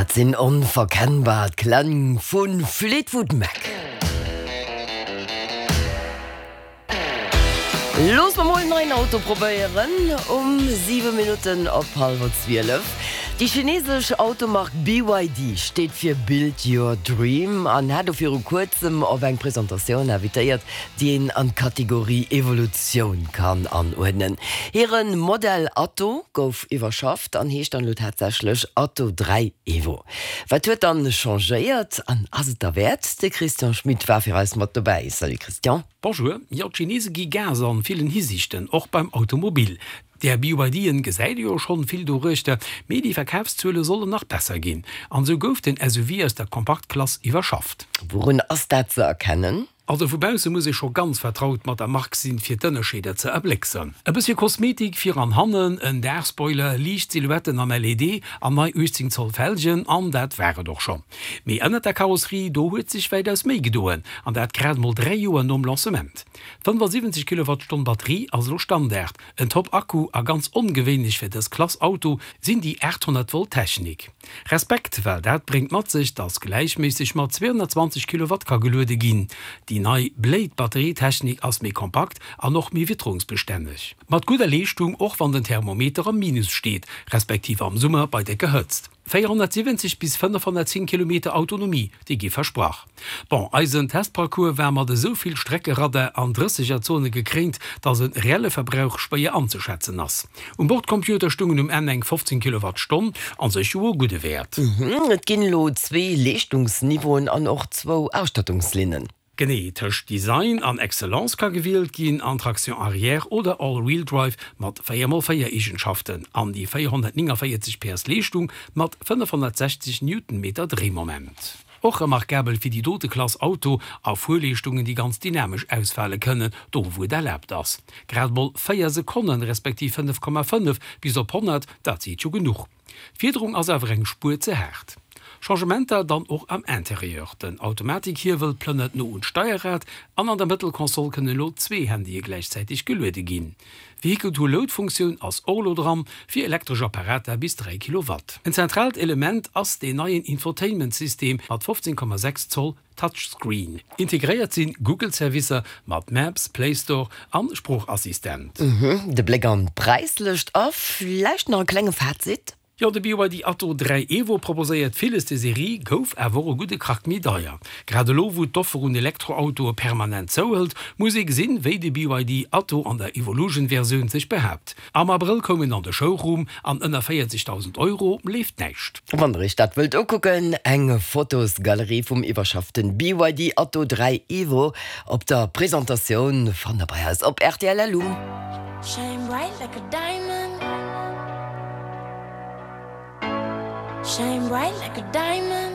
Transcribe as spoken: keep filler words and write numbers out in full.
Dat sinn onverkennbar d'Kläng vu Fleetwood Mac. Looss mer mol en neien Auto probéieren um siwe Minutten op hallwer zwielef. Déi chinesesch Automark B Y D steet fir Build Your Dream an hat do viru kuerzem op eng Presentatioun invitéiert, déi een an d'Kategorie Evolutioun kann anuerdnen. Hire Modell Atto gouf iwwerschafft an heescht dann elo tatsächlech Atto dräi Evo. Wat huet dann changéiert an ass et derwäert? De Christian Schmit war fir eis mat dobäi. Salut Christian. Bonjour, jo d'Chinese gi Gas an villen Hisiichten, och beim Automobil. Där B Y D'en gesäit ee jo schonn vill doruechter, mee déi Verkafszuele sollen nach besser ginn. An esou gouf den S U V aus der Kompaktklass iwwerschafft. Wourun ass dat ze erkennen? Also vu bausse muss ee scho ganz vertraut mat der Mark sinn, fir d'Ënnerscheeder ze erblécksen. E bëssche Kosmetik vir an hannen, en Daachspoiler, liicht Silhouetten am L E D an nei uechtzéng Zoll Felgen, an dat war et och schonn. Mee ënnert der Karosserie, do huet sech wäitaus méi gedoen, an dat grad mol dräi Joer nom Lancement. D'fënnefasiwwenzeg Kilowattstonn Batterie ass elo Standard, en Top-Akku a ganz ongewéinlech fir dës Klass Auto sinn déi aathonnert Volt Technik. Respekt, well dat bréngt mat sech, dass gläichméisseg mat zweehonnertzwanzeg Kilowatt ka geluede ginn. Déi nei Blade-Batterietechnik ass méi kompakt an och méi witterungsbestänneg. Mat gudder Leeschtung, och wann den Thermometer am Minus steet, respektiv am Summer bei décker Hëtzt. véierhonnertsiwwenzeg bis fënnefhonnertzéng Kilometer Autonomie, déi gi versprach. Bon, eisen Testparcours war mat esou vill Streckeradar an Drëssegerzone gekréint, dass e reelle Verbrauch schwéier anzeschätzen ass. Um Bordcomputer stungen um Enn eng fofzéng Kilowattstonn, an sech jo e gudde Wäert. Et ginn elo zwee Leeschtungsniveauen an och zwou Ausstattungslinnen. Genee, tëscht Design an Excellence ka gewielt ginn, an Traction arrière oder All-Wheel-Drive mat véier mol véier Eegenschaften an déi véierhonnertnéngavéierzeg P S Leeschtung mat fënnefhonnertsechzeg Newtonmeter Dréimoment. Och remarkabel fir déi dote Klass Auto a Fuerleeschtungen, déi ganz dynamesch ausfale kënnen, do wou et erlaabt ass. Grad mol véier Sekonnen, respektiv fënnef Komma fënnef bis op honnert, dat seet jo genuch. D'Fiederung ass awer eng Spuer ze haart. Changementer dann och am Interieur, Den Automatikhiewel plënnert no un d'Steierrad an an der Mëttelkonsol kënnen elo zwee Handye gläichzäiteg geluede ginn. Vehicle-to-Load-Funktioun ass och elo dran, fir elektresch Apparater bis dräi Kilowatt. En zentraalt Element ass deen neien Infotainment-System mat fofzéng Komma sechs Zoll Touchscreen. Integréiert sinn Google-Servicer mat Maps, Play Store an Sproochassistent. De Bléck an d'Präislëscht a vläicht nach e klenge Fazit? Jo, de B Y D Atto dräi Evo proposéiert villes, de Serie gouf awer och e gudde Krack méi deier. Grad elo wou d'Offer un Elektroautoe permanent zouhëlt, muss ee gesinn, wéi de B Y D Atto an der Evolution-Versioun sech behaapt. Am Abrëll koum en an de Showroom an ënner véierzegdausend Euro leeft näischt. Wann der iech dat wëllt ukucken, eng Fotosgalerie vum iwwerschafften B Y D Atto dräi Evo op der Presentatioun fannt der bei eis op R T L L U. Shine bright like a diamond. Shine bright like a diamond.